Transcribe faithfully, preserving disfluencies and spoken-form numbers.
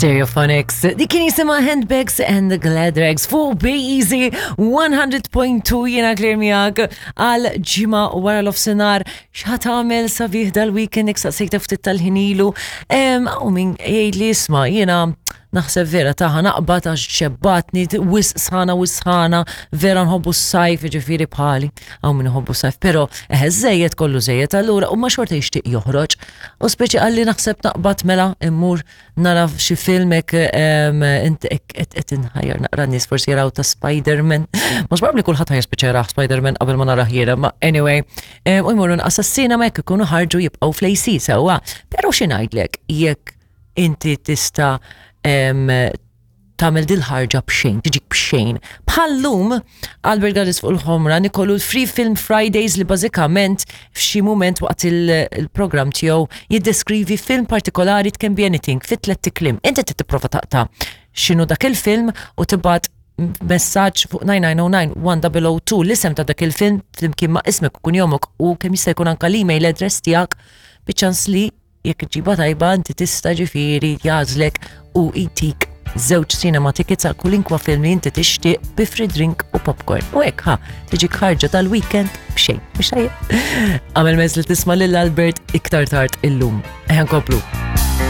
Stereophonics. Dik kien jisimha Handbags and the Glad Rags fuq Easy one hundred point two, jiena Claire miegħek għal ġimgħa wara nofsinhar. X'ħa tagħmel sabiħ dal-weekend? Saqsejta ftit tal-ħin ilu. U min jgħid li, "Isma', jiena naħseb vera taħa naqbad għax xebbatni, wisq sħana, wisq sħana, vera nħobbu s-sajf," ġifieri bħali, hawn min nħobbu s-sajf, pero eħe, żejjed kollu żejjed, allura u ma xorta jixtieq joħroġ. U speċi għalli naħseb naqbad mela immur nara xi film hekk, int qed inħajjar naqra nies forsi jaraw ta' Spider-Man. Mhux probabbli kulħadd ħa jispiċċa jarah Spider-Man qabel ma narah jiena, ma anyway, u jmorru assassina ma jekk ikunu ħarġu jibqgħu fl-A C sewwa. Però xi ngħidlek, jekk inti tista' tagħmel dil-ħarġa b'xejn, tiġik b'xejn. Bħallum, Albert Gadis fuq il-Ħomra nikollu l-Free Film Fridays, li bażikament f'xi moment waqt il-program tiegħu jiddeskrivi film partikolari, it can be anything, fit tliet kliem. Inti tipprova taqta' x'inhu dak il-film u tibgħat messaġġ fuq nine nine zero nine one zero zero two l-isem ta' dak il-film flimkien ma' ismek u kunjomok u kemm jista' jkun anka l-email address tiegħek, biċ-ċans li jekk ġiba tajba inti tista' ġifieri jagħżlek u jtik żewġ cinema tickets għal kulinkwa film li inti tixtieq bi free drink u popcorn. U hekk ħa tiġi ħarġa tal-weekend b'xejn. Mhux tajjeb? Għamel mezz li tisma' lil Albert iktar tard illum. Ejja nkomplu.